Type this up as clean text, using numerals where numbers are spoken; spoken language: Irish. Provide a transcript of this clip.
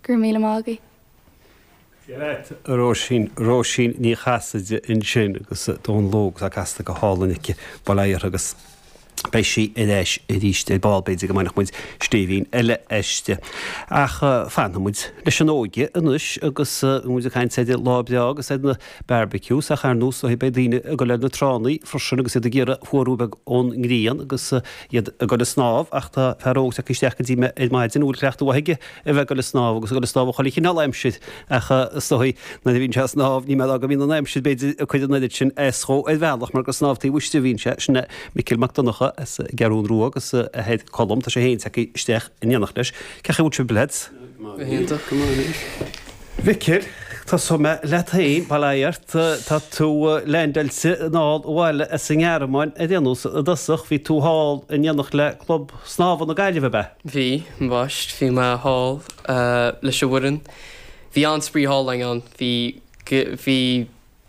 Go raibh míle maith agaibh. Dia leat, a Róisín, Róisín Ní Chasaide ansin agus Dónal Óg atá casta go hálainn aici, bail ó Dhia uirthi agus beidh sí ar ais arís ar ball, b'fhéidir go mbainfeadh muid stéibhín eile aisti. Ach fanfaidh muid leis an óige anois agus bhí muid ag caint ar an lá breá agus ar na barbecues ach ar nós beidh daoine ag dul ar na tránna freisin agus iad ag iarraidh fuarú beag ón ngrian agus iad ag dul ag snámh ach tá fear óg tagtha isteach go dtí mé ar maidin a bhfuil cleachtadh mhaith aige a bheith ag dul ag snámh agus ag dul ag snámh i chuile chineál aimsir ach is dóigh nuair a bhíonn sé ag snámh ní mé go mbíonn an aimsir b'fhéidir ag cur an oiread sin as dhó ar bhealach mar gur snámh taobh istigh a bhíonn sé. Sin é Micil Mac Donncha as an gCeathrún Rua agus a athair Colm, tá sé féin tagtha isteach in éineacht leis. Cén chaoi a bhfuil sibh lads? Go hiontach, go maith anois. Mhicil, tosóidh mé leat féin, bail ó Dhia ort, tá tú leaindeáilte anall abhaile as an nGearmáin ar aon nós i dtosach, bhí tú thall in éineacht le Club Snámha na Gaillimhe, ab ea? Bhí, ambaist, bhí mé thall leis an bhfoireann. Bhí an-spraoi thall againn ann. Bhí, bhí.